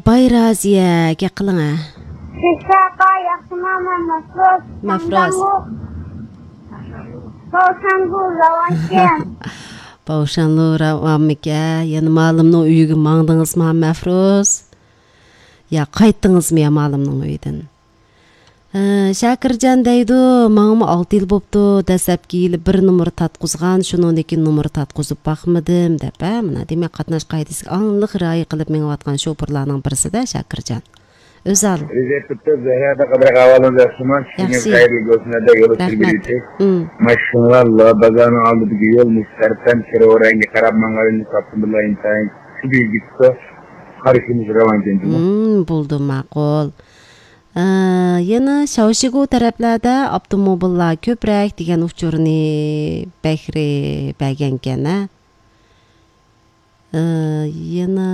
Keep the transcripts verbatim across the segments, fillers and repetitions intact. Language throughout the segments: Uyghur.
بايرازىيە، گەپ قىلىڭە. سىز ساقا ياخشىما، مەن مەفروز. مەفروز. ساڭداڭغۇ. ساۋسەنگۇ، راۋانچىن. باۋشانلۇ راۋانمىكە؟ يەنە مالىمنىڭ ئۆيىگە ماڭدىڭىزمۇ، مەفروز؟ يا قايتتىڭىزمۇ يا مالىمنىڭ ئۆيىدىن؟ ھە، شاكىرجان دەيدۇ، ماڭىمۇ ئالتە يىل بوپتۇ، دەسلەپكى يىلى بىر نومۇر تارتقۇزغان، شۇنىڭدىن كېيىن نومۇر تارتقۇزۇپ باقمىدىم، دەپ، ھە، مانا دېمەك، قاتناش قائىدىسىگە ئاڭلىق رىئايە قىلىپ مېڭىۋاتقان شوپۇرلارنىڭ بىرسىدە شاكىرجان. ئۆزەل. رىزا ئېيتىپتۇ، زەھرەدە قەدىر ئەھۋالىڭىز ياخشىمۇ؟ ياخشى. خەيرلىك بولسۇن، ھەدە يول رەھمەت. ئۈستىگە. مم. ماشىنىلار بازارنىڭ ئالدىدىكى يول مۇشتەرىپەن، سېرىق رەڭگە قاراپ ماڭغىنىنى تاپتىم، بىللە ئىنتايىن سۈبۈي كېتىپتۇ. قارىشىمىز راۋان ئىكەن، جۇمۇ. مم، بولدى، ماقۇل. ئە، يەنە شاۋشىگۇ تەرەپلەردە ئاپتوموبىللار كۆپرەك دېگەن ئۇچۇرنى بەكرى بەرگەنكەن، ھە؟ ئە، يەنە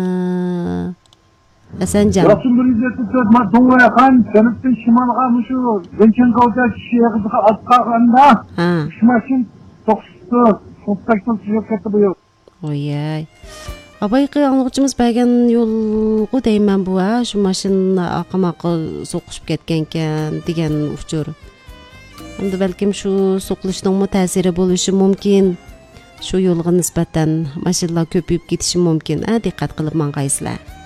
ھەسەنجان. ياخشى، بىر يۈز يەتمىش تۆت ما دۇڭۋەيخان جەنۇبتىن شىمالغا مۇشۇ زېنچىڭگاۋدا كىشى يېغىزىغا ئاتقاندا ھە. ئۈچ ماشىنا توقۇشۇپتۇ، توقۇشۇپ كەتتى بۇ يول. ۋايەي. ئاۋايقى ئاڭلىغۇچىمىز بەرگەن يولغۇ دەيمەن بۇ، ھە، شۇ ماشىنا ئاقىماققا سوقۇشۇپ كەتكەنكەن دېگەن ئۇچۇر. ئەمدى بەلكىم شۇ سوقۇلۇشنىڭمۇ تەسىرى بولۇشى مۇمكىن. شۇ يولغا نىسبەتەن ماشىنىلار كۆپىيىپ كېتىشى مۇمكىن، ھە، دىققەت قىلىپ ماڭغايسىلەر.